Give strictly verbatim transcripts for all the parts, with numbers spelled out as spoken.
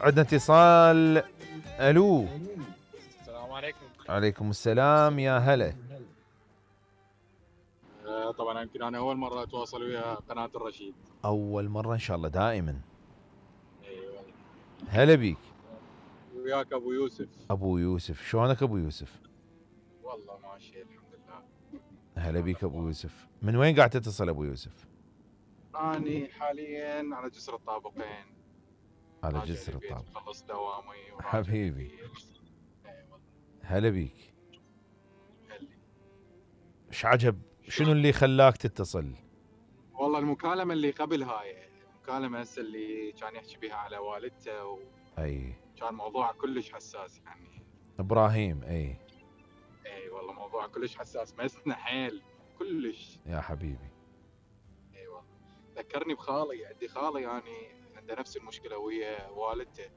عندنا اتصال. الو. السلام عليكم. عليكم السلام، يا هلا. آه، طبعا يمكن انا اول مره اتواصل ويا قناه الرشيد. اول مره ان شاء الله دائما. ايوه. هلا بيك. وياك ابو يوسف. ابو يوسف، شلونك ابو يوسف؟ والله ماشي الحمد لله. هلا بيك ابو يوسف. من وين قاعد تتصل ابو يوسف؟ اني حاليا على جسر الطابقين، على راجع جسر للبيت الطابق. مخلص دوامي وراجع حبيبي. للبيت. اي والله. هلا بيك. هلي. ايش عجب؟ شنو اللي خلاك تتصل؟ والله المكالمه اللي قبل هاي المكالمه هسه اللي كان يحكي بها على والدته و... اي. كان موضوع كلش حساس يعني. ابراهيم. اي. اي والله موضوع كلش حساس، مسنا حيل كلش. يا حبيبي. اي والله. ذكرني بخالي، عندي خالي يعني عنده نفس المشكله ويا والدته.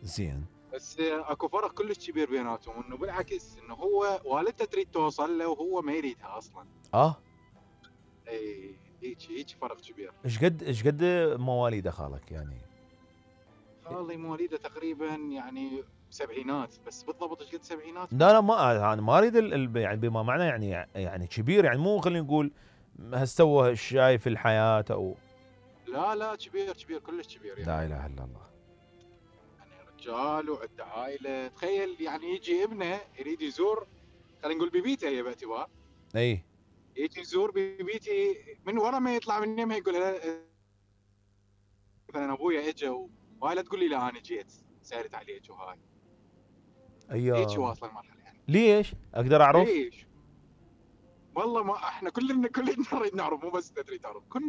زين. بس اكو فرق كلش كبير بيناتهم، انه بالعكس انه هو والدته تريد توصل له وهو ما يريدها اصلا. اه. اي هيك هيك فرق كبير. ايش قد ايش قد مواليد خالك يعني؟ خالي مواليده تقريبا يعني سبعينات، بس بالضبط ايش قد سبعينات؟ لا لا، ما انا ما اريد ال- ال- يعني بما معنى يعني يعني كبير، يعني مو خلينا نقول هالسوى شاي في الحياه او. لا لا كبير كبير كلش كبير يعني. لا اله الا الله. يعني رجال وعنده عائله، تخيل يعني يجي ابنه يريد يزور، خلينا نقول ببيته هي باعتبار اي. يجي يزور ببيتي، من ورا ما يطلع من يمها يقول لها مثلا ابويا اجى وهاي، لا تقول لي لا انا جيت سالت عليك وهاي. هيك ايوه. واصله المرحله يعني. ليش؟ اقدر اعرف؟ ليش؟ والله ما احنا كلنا كلنا نريد نعرف، مو بس انت تريد تعرف، كلنا